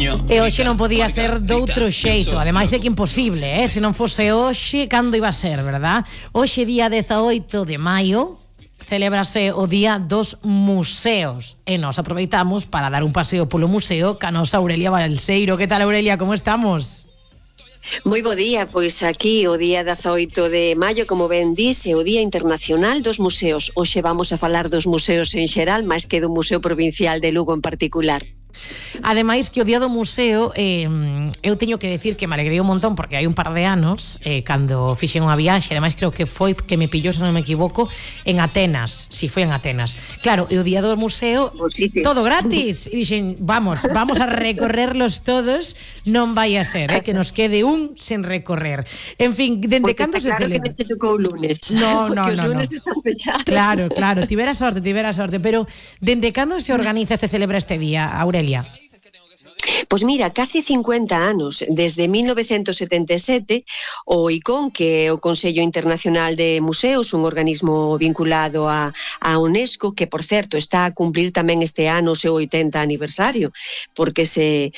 E hoxe non podía ser doutro xeito. Ademais é que imposible, se non fose hoxe, cando iba a ser, verdad? Hoxe día 18 de maio celébrase o Día dos Museos e nós aproveitamos para dar un paseo polo museo ca nosa Aurelia Balseiro. Que tal, Aurelia, como estamos? Moi bo día, pois aquí o día 18 de maio, como ben dís, é o Día Internacional dos Museos. Hoxe vamos a falar dos museos en xeral, máis que do Museo Provincial de Lugo en particular. Ademais que o Día do Museo eu teño que decir que me alegrei un montón porque hai un par de anos cando fixen unha viaxe, ademais creo que foi que me pillou, se non me equivoco, en Atenas. Si, foi en Atenas. Claro, e o Día do Museo todo gratis. E dixen, vamos a recorrerlos todos, non vai a ser, que nos quede un sen recorrer. En fin, dende cando se celebra? Claro que te tocou o lunes. No. Os lunes están pechados. Claro, tivera sorte, pero dende cando se organiza, se celebra este día, Aurelia? Pois mira, casi 50 anos, desde 1977, o ICON, que é o Consello Internacional de Museos, un organismo vinculado a UNESCO, que, por certo, está a cumplir tamén este ano o seu 80 aniversario, porque se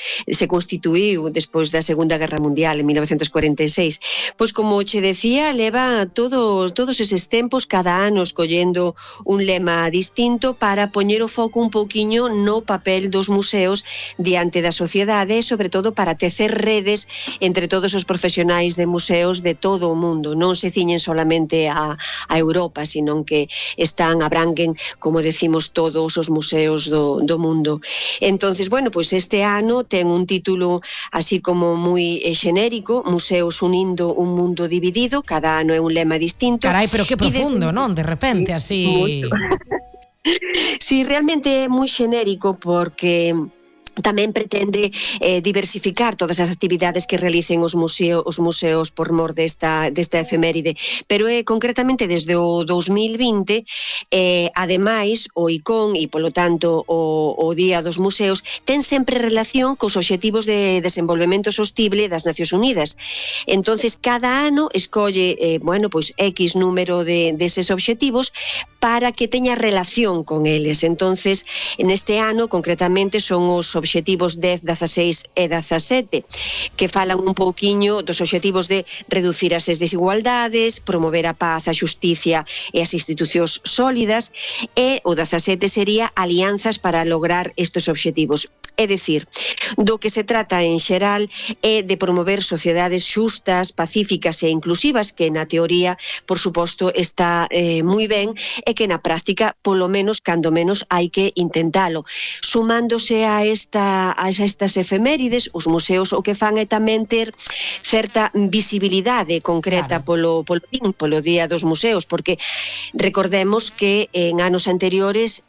constituíu despois da Segunda Guerra Mundial, en 1946. Pois, como che decía, leva todos eses tempos, cada ano escollendo un lema distinto para poñer o foco un pouquiño no papel dos museos diante da sociedade, sobre todo para tecer redes entre todos os profesionais de museos de todo o mundo. Non se ciñen solamente a Europa, sino que abranguen, como decimos, todos os museos do mundo. Entonces, bueno, pois este ano ten un título así como moi xenérico, Museos unindo un mundo dividido, cada ano é un lema distinto. Carai, pero que profundo, non? De repente, así... Sí, realmente é moi xenérico porque tamén pretende diversificar todas as actividades que realicen os museos por mor desta efeméride, pero concretamente desde o 2020 ademais o ICON e polo tanto o Día dos Museos ten sempre relación cos obxectivos de desenvolvemento sostible das Nacións Unidas. Entonces cada ano escolle pois X número deses obxectivos para que teña relación con eles. Entonces neste ano concretamente son os obxectivos 10, 16 e 17, que falan un pouquiño dos obxectivos de reducir as desigualdades, promover a paz, a xusticia e as institucións sólidas, e o 17 sería alianzas para lograr estes obxectivos. É dicir, do que se trata en xeral é de promover sociedades xustas, pacíficas e inclusivas, que na teoría, por suposto, está moi ben, e que na práctica, polo menos, cando menos, hai que intentalo. Sumándose a estas efemérides, os museos o que fan é tamén ter certa visibilidade concreta polo Día dos Museos, porque recordemos que en anos anteriores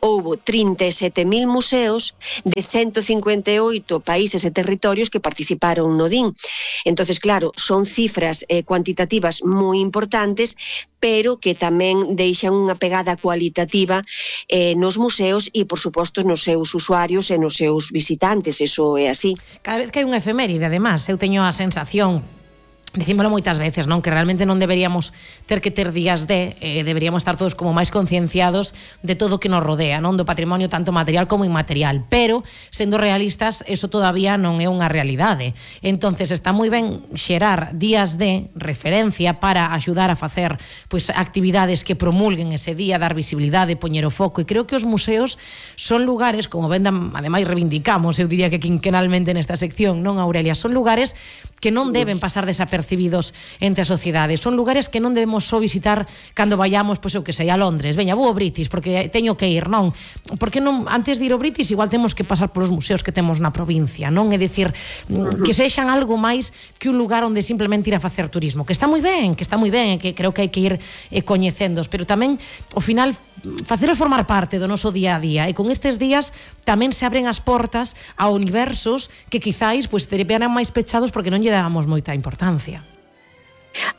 houbo 37.000 museos de 158 países e territorios que participaron no DIN. Entonces, claro, son cifras cuantitativas moi importantes, pero que tamén deixan unha pegada cualitativa nos museos e, por suposto, nos seus usuarios e nos seus visitantes. Eso é así. Cada vez que hai unha efeméride, además, eu teño a sensación, dicímolo moitas veces, non, que realmente non deberíamos ter que ter días deberíamos estar todos como máis concienciados de todo o que nos rodea, non, do patrimonio tanto material como inmaterial, pero sendo realistas, eso todavía non é unha realidade. Entonces está moi ben xerar días de referencia para axudar a facer pois actividades que promulguen ese día, dar visibilidade, poñer o foco, e creo que os museos son lugares, como ben ademais reivindicamos, eu diría que quinquenalmente nesta sección, non, Aurelia, son lugares que non deben pasar desapercibidos entre a sociedade. Son lugares que non debemos só visitar cando vayamos, pois eu que sei, a Londres. Veña, vou ao British porque teño que ir, non? Porque non, antes de ir ao British igual temos que pasar polos museos que temos na provincia, non? É dicir, que sexan algo máis que un lugar onde simplemente ir a facer turismo, que está moi ben, que creo que hai que ir coñecendos, pero tamén, ao final, faceros formar parte do noso día a día, e con estes días tamén se abren as portas a universos que quizáis pois terían máis pechados porque non lle dábamos moita importancia.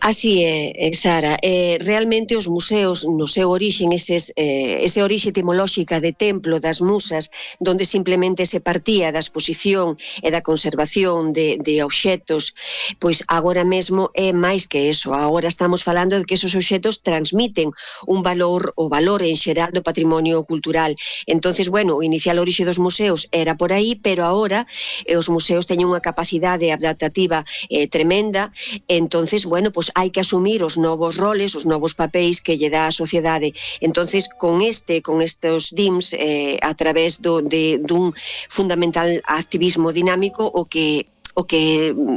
Así é, Sara. Realmente os museos no seu orixen, ese orixe etimolóxica de templo das musas, donde simplemente se partía da exposición e da conservación de obxetos, pois agora mesmo é máis que eso. Agora estamos falando de que esos obxetos transmiten un valor, o valor en xeral do patrimonio cultural. Entonces, bueno, o inicial orixe dos museos era por aí, pero agora os museos teñen unha capacidade adaptativa tremenda. Entonces, bueno, pues hai que asumir os novos roles, os novos papéis que lle dá a sociedade. Entonces, con estes DIMS, a través dun fundamental activismo dinámico, o que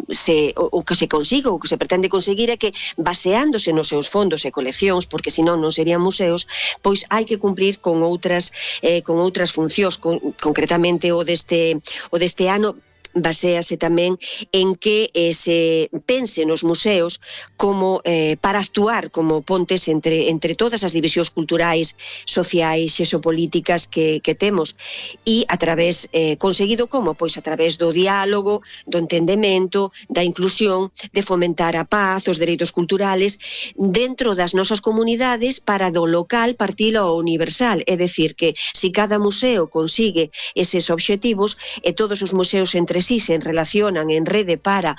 se consigue, o que se pretende conseguir é que, baseándose nos seus fondos e coleccións, porque senón non serían museos, pois hai que cumplir con outras funcións. Concretamente o deste ano baséase tamén en que se pense nos museos como para actuar como pontes entre todas as divisións culturais, sociais e xeopolíticas que temos, e a través, conseguido como? Pois a través do diálogo, do entendemento, da inclusión, de fomentar a paz, os dereitos culturales dentro das nosas comunidades, para do local partilo ao universal. É dicir, que se cada museo consigue eses obxectivos e todos os museos entre sí se relacionan en rede para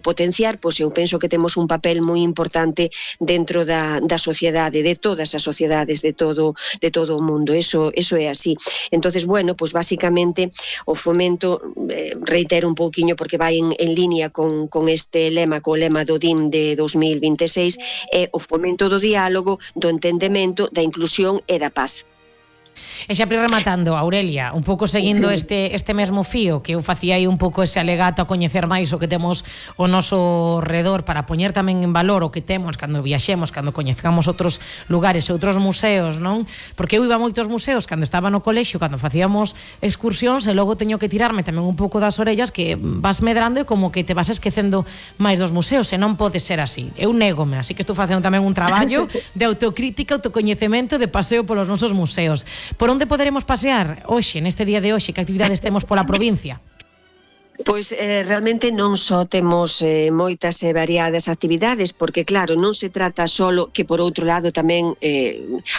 potenciar, pois eu penso que temos un papel moi importante dentro da sociedade, de todas as sociedades de todo o mundo. Eso é así. Entonces, bueno, pois basicamente o fomento, reitero un pouquiño porque vai en línea con este lema, co lema do DIM de 2026, é o fomento do diálogo, do entendemento, da inclusión e da paz. E xa rematando, Aurelia, un pouco seguindo este mesmo fío, que eu facía aí un pouco ese alegato a coñecer máis o que temos o noso redor, para poñer tamén en valor o que temos cando viaxemos, cando coñezcamos outros lugares e outros museos, non? Porque eu iba a moitos museos cando estaba no colexio, cando facíamos excursións, e logo teño que tirarme tamén un pouco das orellas, que vas medrando e como que te vas esquecendo máis dos museos, e non pode ser así. Eu négome, así que estou facendo tamén un traballo de autocrítica, autocoñecemento, de paseo polos nosos museos. Por onde poderemos pasear hoxe, neste día de hoxe? Que actividades temos pola provincia? Pois realmente non só temos moitas e variadas actividades, porque claro, non se trata solo, que por outro lado tamén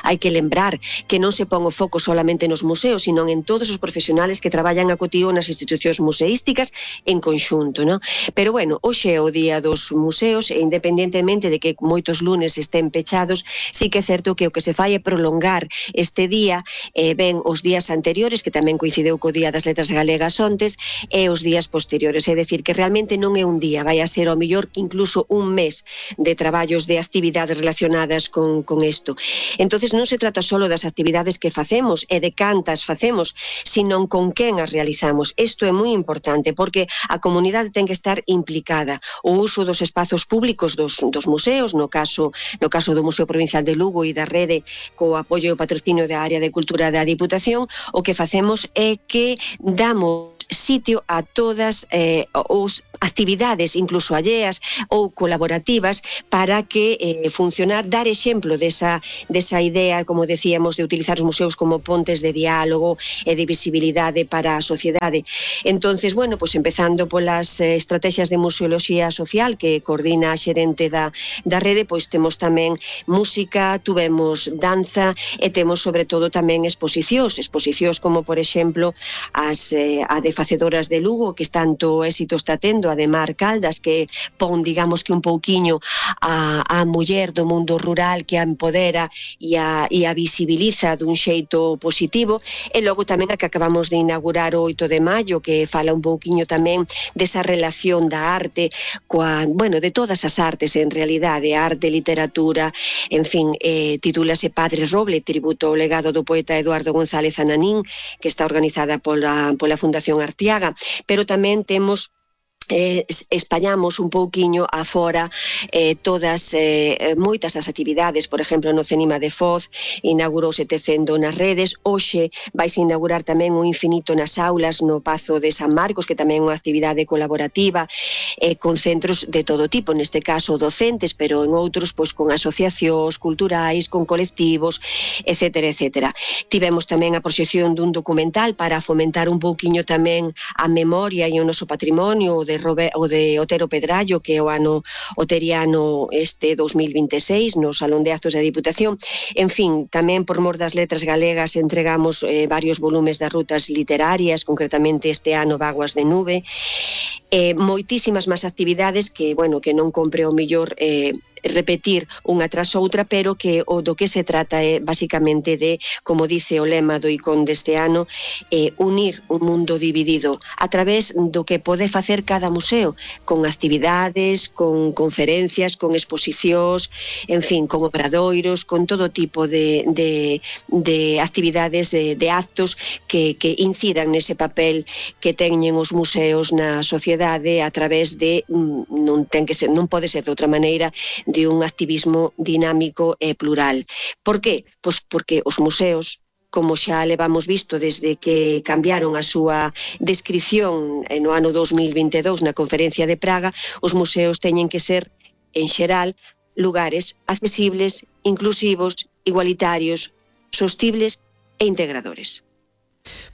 hai que lembrar que non se pon o foco solamente nos museos, sino en todos os profesionales que traballan a cotío nas institucións museísticas en conxunto, non? Pero bueno, hoxe é o día dos museos, e independentemente de que moitos lunes estén pechados, sí que é certo que o que se fai é prolongar este día, ben os días anteriores, que tamén coincideu co Día das Letras Galegas ontes, e os días posteriores. É dicir, que realmente non é un día, vai a ser ao mellor que incluso un mes de traballos, de actividades relacionadas con isto. Entonces non se trata solo das actividades que facemos e de cantas facemos, sino con quen as realizamos. Isto é moi importante, porque a comunidade ten que estar implicada. O uso dos espazos públicos dos museos, no caso do Museo Provincial de Lugo e da Rede, co apoio e o patrocinio da área de cultura da Diputación, o que facemos é que damos sitio a todas as actividades, incluso alleas ou colaborativas, para que funcionar, dar exemplo desa idea, como decíamos, de utilizar os museos como pontes de diálogo e de visibilidade para a sociedade. Entonces, bueno, pues empezando polas estrategias de museoloxía social que coordina a xerente da rede, pois temos tamén música, tuvemos danza e temos sobre todo tamén exposicións como, por exemplo, a de facedoras de Lugo, que tanto éxito está tendo, a de Mar Caldas, que pon, digamos, que un pouquiño a muller do mundo rural, que a empodera e a visibiliza dun xeito positivo. E logo tamén a que acabamos de inaugurar o 8 de maio, que fala un pouquiño tamén desa relación da arte de todas as artes, en realidade, arte, literatura, en fin, titúlase Padre Roble, tributo ao legado do poeta Eduardo González Ananín, que está organizada pola Fundación Artiaga, pero tamén temos espallamos un pouquiño afora moitas as actividades. Por exemplo, no Cenima de Foz inaugurouse Tecendo nas redes. Hoxe vais inaugurar tamén o Infinito nas aulas no Pazo de San Marcos, que tamén é unha actividade colaborativa con centros de todo tipo, neste caso docentes, pero en outros pois con asociacións culturais, con colectivos, etcétera, etcétera. Tivemos tamén a proxección dun documental para fomentar un pouquiño tamén a memoria e o noso patrimonio, de Otero Pedrallo, que é o ano oteriano este 2026 no Salón de Actos da Diputación. En fin, tamén por mor das letras galegas entregamos varios volumes das rutas literarias, concretamente este ano Vaguas de Nube, moitísimas máis actividades que, bueno, que non compre o mellor repetir unha tras outra, pero que o do que se trata é basicamente de, como dice o lema do ICON deste ano, unir un mundo dividido a través do que pode facer cada museo, con actividades, con conferencias, con exposicións, en fin, con obradoiros, con todo tipo de actividades, de actos que incidan nese papel que teñen os museos na sociedade a través de, non pode ser de outra maneira, de un activismo dinámico e plural. Por qué? Pois porque os museos, como xa levamos visto desde que cambiaron a súa descrición no ano 2022 na Conferencia de Praga, os museos teñen que ser, en xeral, lugares accesibles, inclusivos, igualitarios, sostibles e integradores.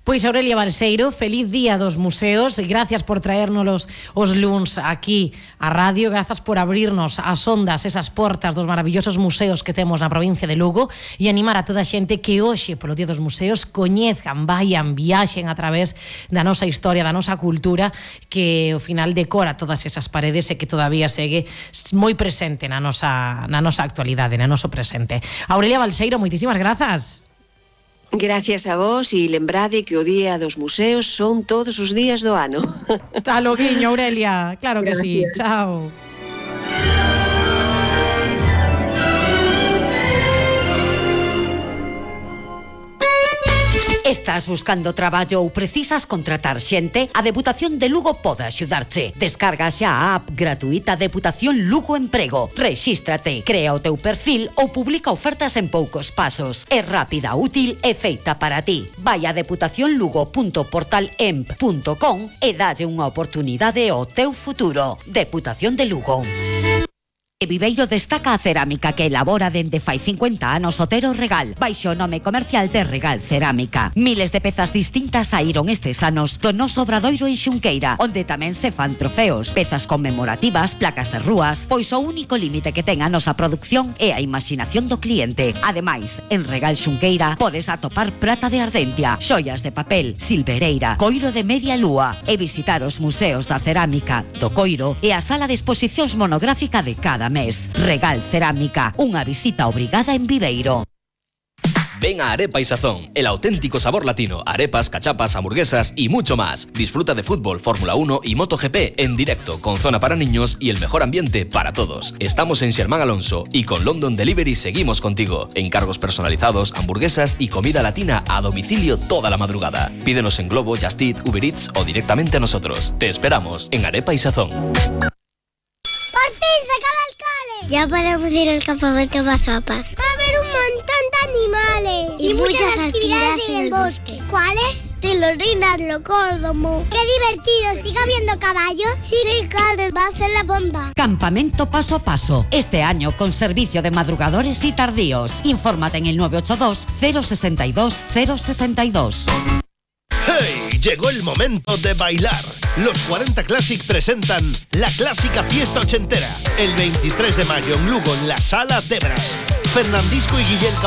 Pois Aurelia Balseiro, feliz día dos museos, gracias por traérnoslos os luns aquí á radio, grazas por abrirnos as ondas, esas portas dos maravillosos museos que temos na provincia de Lugo, e animar a toda a xente que hoxe, polo Día dos Museos, coñezcan, vayan, viaxen a través da nosa historia, da nosa cultura, que ao final decora todas esas paredes e que todavía segue moi presente na nosa actualidade, na noso presente. Aurelia Balseiro, moitísimas grazas. Gracias a vos, e lembrade que o Día dos Museos son todos os días do ano. Tá loguiño, Aurelia, claro que sí. Chao. Estás buscando traballo ou precisas contratar xente? A Deputación de Lugo pode axudarche. Descarga xa a app gratuita Deputación Lugo Emprego. Rexístrate, crea o teu perfil ou publica ofertas en poucos pasos. É rápida, útil e feita para ti. Vai a deputacionlugo.portalemp.com e dalle unha oportunidade ao teu futuro. Deputación de Lugo. E Viveiro destaca a cerámica que elabora dende fai 50 anos Otero Regal, baixo o nome comercial de Regal Cerámica. Miles de pezas distintas saíron estes anos do noso obradoiro en Xunqueira, onde tamén se fan trofeos, pezas conmemorativas, placas de rúas, pois o único límite que ten a nosa produción é a imaginación do cliente. Ademais, en Regal Xunqueira podes atopar prata de ardentia, xoias de papel, silvereira, coiro de media lúa e visitar os museos da cerámica, do coiro e a sala de exposicións monográfica de cada mes. Regal Cerámica, unha visita obrigada en Viveiro. Ven a Arepa y Sazón, el auténtico sabor latino, arepas, cachapas, hamburguesas y mucho más. Disfruta de fútbol, Fórmula 1 y MotoGP en directo, con zona para niños y el mejor ambiente para todos. Estamos en Xermán Alonso y con London Delivery seguimos contigo. Encargos personalizados, hamburguesas y comida latina a domicilio toda la madrugada. Pídenos en Globo, Just Eat, Uber Eats o directamente a nosotros. Te esperamos en Arepa y Sazón. ¡Por fin se acaba el cole! Ya podemos ir al campamento Mazapas. Va a haber un montón de animales y muchas actividades en el bosque. ¿Cuáles? Tilorinas, locódromo. ¡Qué divertido! ¿Sigue habiendo caballos? Sí, claro, va a ser la bomba. Campamento Paso a Paso. Este año con servicio de madrugadores y tardíos. Infórmate en el 982 062 062. ¡Hey! Llegó el momento de bailar. Los 40 Classic presentan la clásica fiesta ochentera. El 23 de mayo en Lugo, en la Sala Debras. Fernandisco y Guillén